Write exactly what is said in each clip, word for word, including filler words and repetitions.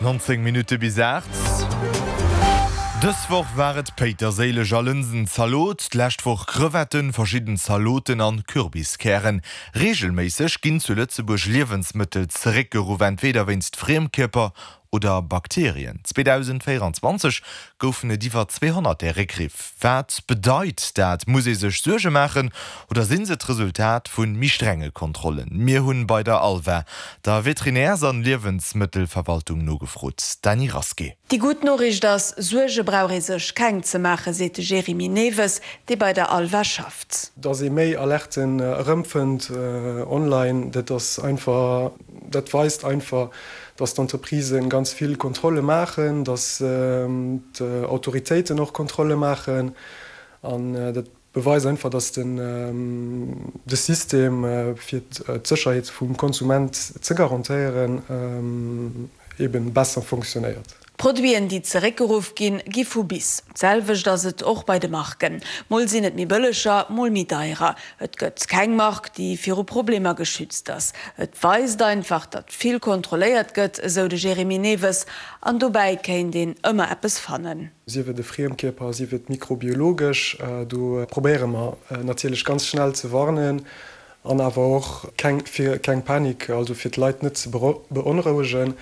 Nonzéng Minutte bis aacht. Dës Woch war et Péiterséileg a Lënsenzalot, d'lescht Woch Crevetten, verschidden Zaloten an Kürbiskären. Reegelméisseg ginn zu Lëtzebuerg Liewensmëttel zeréckgeruff, entweder wéinst Friemkierper oder Bakterien. zweedausendvéieranzwanzeg goufen et iwwer zweehonnert där Réckriff. Wat bedeit dat? Muss ee sech Suerge maachen oder sinn se d'Resultat vu méi strenge Kontrollen? Mir hunn bei der ALVA, der Veterinärs an Liewensmëttelverwaltung, nogefrot. Dany Rasqué. Déi gutt Noriicht ass, Suerge brauch ee sech keng ze maachen, seet de Jérémy Neves, dee bei der ALVA schafft. Dass ee méi Alerten erëmfënnt online, dat ass einfach, dat weist einfach, dass d'Entreprisen ganz vill Kontrolle maachen, dass d'Autoritéiten och Kontrolle maachen an dat beweist einfach, dass den de System fir d'Sécherheet vum Konsument ze garantéieren eben besser fonctionnéiert. D'Produiten, déi zeréckgeruff ginn, gi vu bis. D'selwecht ass et och bei de Marken. Mol sinn et méi bëlleger, mol méi deierer. Et gëtt keng Mark, déi viru Problemer geschützt ass. Et weist einfach, datt vill kontrolléiert gëtt, esou de Jérémy Neves. An dobäi kéint een ëmmer eppes fannen. Sief et e Friemkierper, sief et mikrobiologesch, do probéiere mer natierlech ganz schnell ze warnen an awer och keng, fir keng Panik, also fir d'Leit net ze beonrouegen,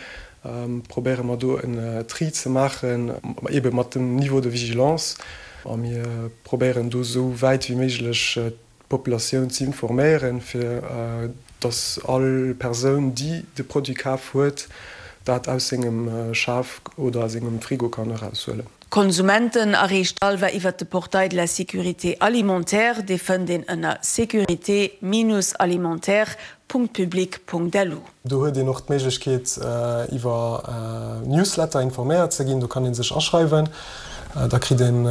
probéiere mer do en Tri ze maachen, eebe mat dem Niveau de vigilance. A mir probéieren do esou wäit wéi méiglech d'Populatioun ze informéieren, fir dass all Persoun, déi de Produit kaf huet, dat aus sengem Schaf oder sengem Frigo kann eraushuelen. D'Konsumenten erreecht d'ALVA iwwert de Portail de la sécurité alimentaire, dee fënnt een ënner sécurité-alimentaire.public.lu. Do huet een och d'Méiglechkeet iwwer Newsletter informéiert ze ginn. Do kann ee sech aschreiwen, da kritt een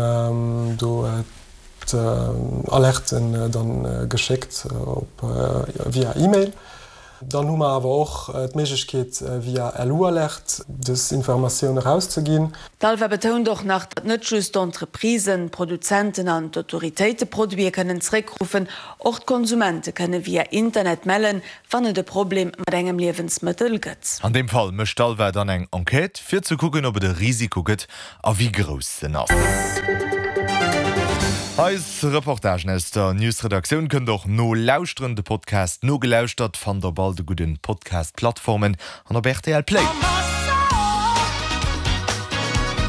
do d'Alerten dann geschéckt op via E-Mail. Dann hu mer awer och d'Méiglechkeet via LU-Alert dës Informatioun erauszeginn. D'ALVA betount och nach, datt net just d'Entreprisen, d'Produzenten an d'Autoritéite Produite kënnen zeréckruffen, och d'Konsumente kënne via Internet mellen, wann et e Problem mat engem Liewensmëttel gëtt. An deem Fall mécht d'ALVA dann eng Enquête, fir ze kucken, ob et e Risiko gëtt a wéi grouss en ass. Eis Reportagen aus der News-Redaktioun kënnt der och nolauschteren. De Podcast Nogelauschtert fannt der op all de gudden Podcast-Plattformen an op rtl Play.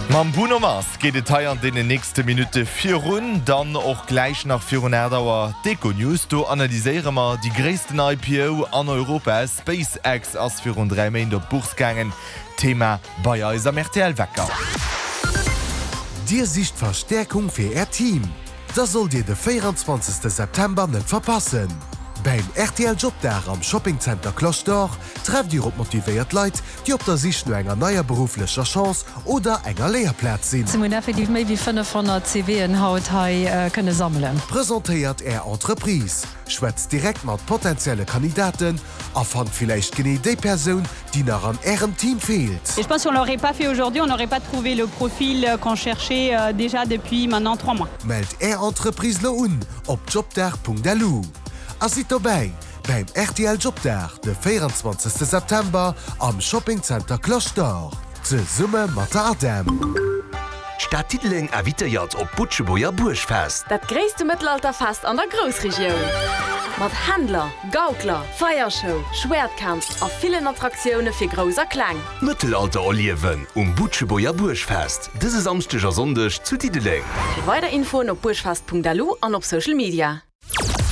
Mam Bruno Mars geet et hei an deenen nächste Minutte virun. Dann och gläich nach virun aacht Auer d'Econews. Do analyséiere mer déi gréissten I P O an Europa. SpaceX ass virun dräi Méint op d'Bourse gaangen. Thema bei eis am R T L Wecker. Dir sicht Verstäerkung fir Äert Team? Da sollt Dir de véieranzwanzegste September net verpassen! Beim R T L Jobdag am Shopping Center Cloche d'Or trefft Dir op motivéiert Leit, déi op der Sich no enger neier berufflecher Chance oder enger Léierplaz sinn. Mir hunn effektiv méi wéi fënnefhonnert C V'en haut hei kënne sammelen. Presentéiert Är Entreprise, schwätzt direkt mat potenzielle Kandidaten a fannt villäicht genee déi Persoun, déi nach an Ärem Team feelt. Et je pense qu'on l'aurait pas fait aujourd'hui, on n'aurait pas trouvé le profil qu'on cherchait déjà depuis maintenant trois mois. Mellt Är Entreprise lo un op jobdag Punkt L U a sidd dobäi beim R T L Jobdag de véieranzwanzegste September am Shopping Center Cloche d'Or zesumme mat der ADEM. D'Stad Diddeleng invitéiert op d'Butschebuerger Buergfest. Dat gréisste Mëttelalterfest an der Groussregioun. Mat Händler, Gaukler, Feiershow, Schwäertkampf a villen Attraktioune fir Grouss a Kleng. Mëttelalter erliewen um Butschebuerger Buergfest dëse Samschdeg a Sonndeg zu Diddeleng. Fir weider Infoen op buergfest Punkt L U an op Social Media.